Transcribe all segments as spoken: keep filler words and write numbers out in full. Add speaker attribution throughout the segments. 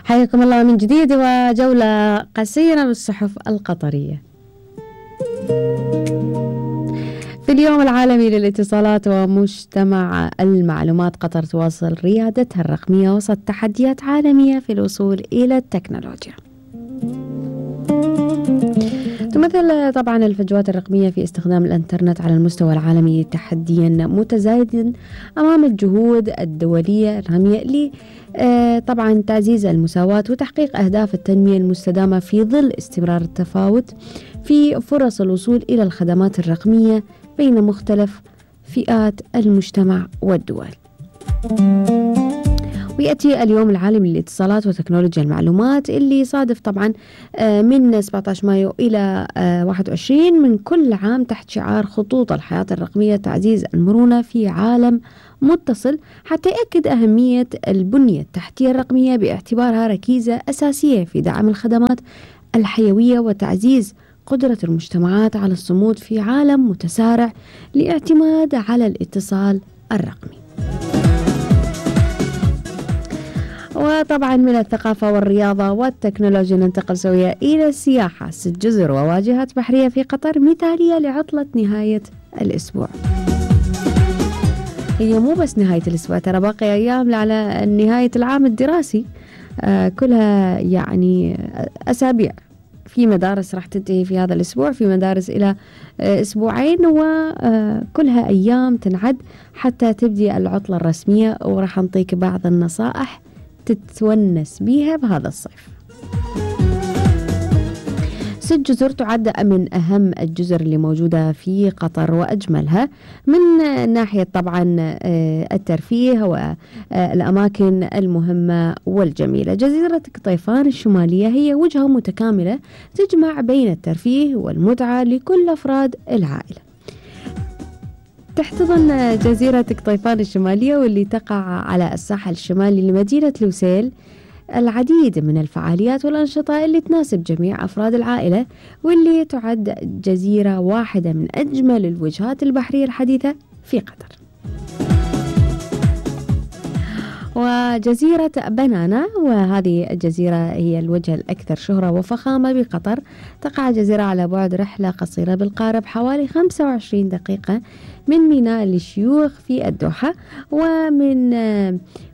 Speaker 1: حياكم الله من جديد وجولة قصيرة بالصحف القطرية. في اليوم العالمي للاتصالات ومجتمع المعلومات، قطر تواصل ريادتها الرقمية وسط تحديات عالمية في الوصول إلى التكنولوجيا. تمثل طبعا الفجوات الرقمية في استخدام الإنترنت على المستوى العالمي تحديا متزايدا أمام الجهود الدولية الرامية ل طبعا تعزيز المساواة وتحقيق أهداف التنمية المستدامة في ظل استمرار التفاوت في فرص الوصول إلى الخدمات الرقمية بين مختلف فئات المجتمع والدول. ويأتي اليوم العالمي للاتصالات وتكنولوجيا المعلومات اللي يصادف طبعا من سبعة عشر مايو إلى واحد وعشرين من كل عام تحت شعار خطوط الحياة الرقمية، تعزيز المرونة في عالم متصل، حتى يأكد أهمية البنية التحتية الرقمية باعتبارها ركيزة أساسية في دعم الخدمات الحيوية وتعزيز قدرة المجتمعات على الصمود في عالم متسارع لاعتماد على الاتصال الرقمي. وطبعا من الثقافة والرياضة والتكنولوجيا ننتقل سويا إلى السياحة. ست جزر وواجهات بحرية في قطر مثالية لعطلة نهاية الأسبوع. هي مو بس نهاية الأسبوع، ترى باقي أيام على نهاية العام الدراسي، آه كلها يعني أسابيع. في مدارس راح تنتهي في هذا الأسبوع، في مدارس إلى آه أسبوعين، وكلها أيام تنعد حتى تبدي العطلة الرسمية. وراح نعطيك بعض النصائح تتونس بيها بهذا الصيف. ست جزر تعد من أهم الجزر اللي موجودة في قطر وأجملها من ناحية طبعا الترفيه والأماكن المهمة والجميلة. جزيرة قطيفان الشمالية هي وجهة متكاملة تجمع بين الترفيه والمتعة لكل أفراد العائلة. تحتضن جزيرة قطيفان الشمالية واللي تقع على الساحل الشمالي لمدينة لوسيل العديد من الفعاليات والأنشطة اللي تناسب جميع أفراد العائلة، واللي تعد جزيرة واحدة من أجمل الوجهات البحرية الحديثة في قطر. وجزيرة بنانا، وهذه الجزيرة هي الوجهة الأكثر شهرة وفخامة بقطر، تقع الجزيرة على بعد رحلة قصيرة بالقارب حوالي خمسة وعشرين دقيقة من ميناء للشيوخ في الدوحة، ومن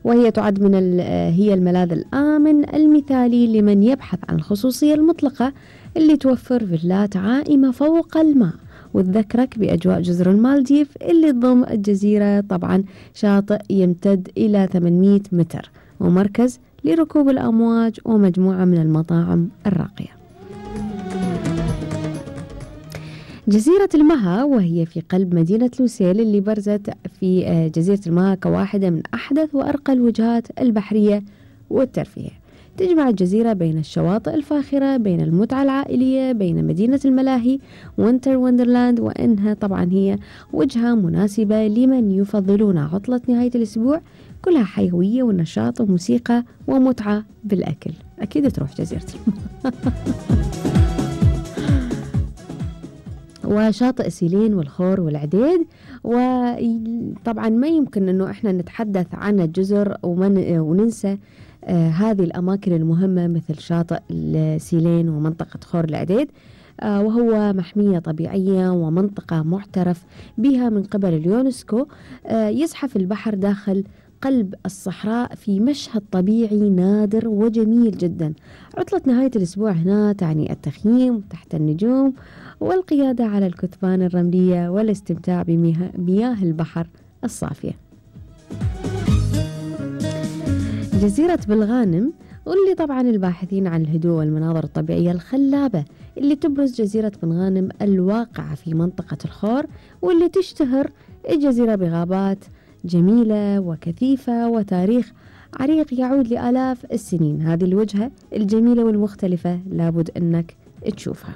Speaker 1: وهي تعد من هي الملاذ الآمن المثالي لمن يبحث عن الخصوصية المطلقة اللي توفر فيلات عائمة فوق الماء وتذكرك بأجواء جزر المالديف اللي تضم الجزيرة طبعا شاطئ يمتد إلى ثمانمئة متر ومركز لركوب الأمواج ومجموعة من المطاعم الراقية. جزيرة المها، وهي في قلب مدينة لوسيل اللي برزت في جزيرة المها كواحدة من أحدث وأرقى الوجهات البحرية والترفيه. تجمع الجزيرة بين الشواطئ الفاخرة، بين المتعة العائلية، بين مدينة الملاهي وينتر وندرلاند، وإنها طبعا هي وجهة مناسبة لمن يفضلون عطلة نهاية الأسبوع كلها حيوية ونشاط وموسيقى ومتعة بالأكل. أكيد تروح جزيرة وشاطئ سيلين والخور والعديد. وطبعا ما يمكن أنه إحنا نتحدث عن الجزر ومن وننسى آه هذه الأماكن المهمة مثل شاطئ سيلين ومنطقة خور العديد، آه وهو محمية طبيعية ومنطقة معترف بها من قبل اليونسكو. آه يزحف البحر داخل قلب الصحراء في مشهد طبيعي نادر وجميل جدا. عطلة نهاية الأسبوع هنا تعني التخييم تحت النجوم والقيادة على الكثبان الرملية والاستمتاع بمياه البحر الصافية. جزيرة بالغانم، واللي طبعا الباحثين عن الهدوء والمناظر الطبيعية الخلابة اللي تبرز جزيرة بالغانم الواقعة في منطقة الخور، واللي تشتهر الجزيرة بغابات جميلة وكثيفة وتاريخ عريق يعود لآلاف السنين. هذه الوجهة الجميلة والمختلفة لابد أنك تشوفها.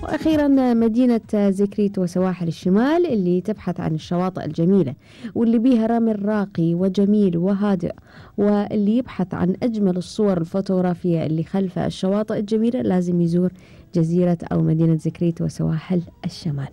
Speaker 1: وأخيرا مدينة زكريت وسواحل الشمال اللي تبحث عن الشواطئ الجميلة واللي بيها رمل راقي وجميل وهادئ، واللي يبحث عن أجمل الصور الفوتوغرافية اللي خلف الشواطئ الجميلة لازم يزور جزيرة أو مدينة زكريت وسواحل الشمال.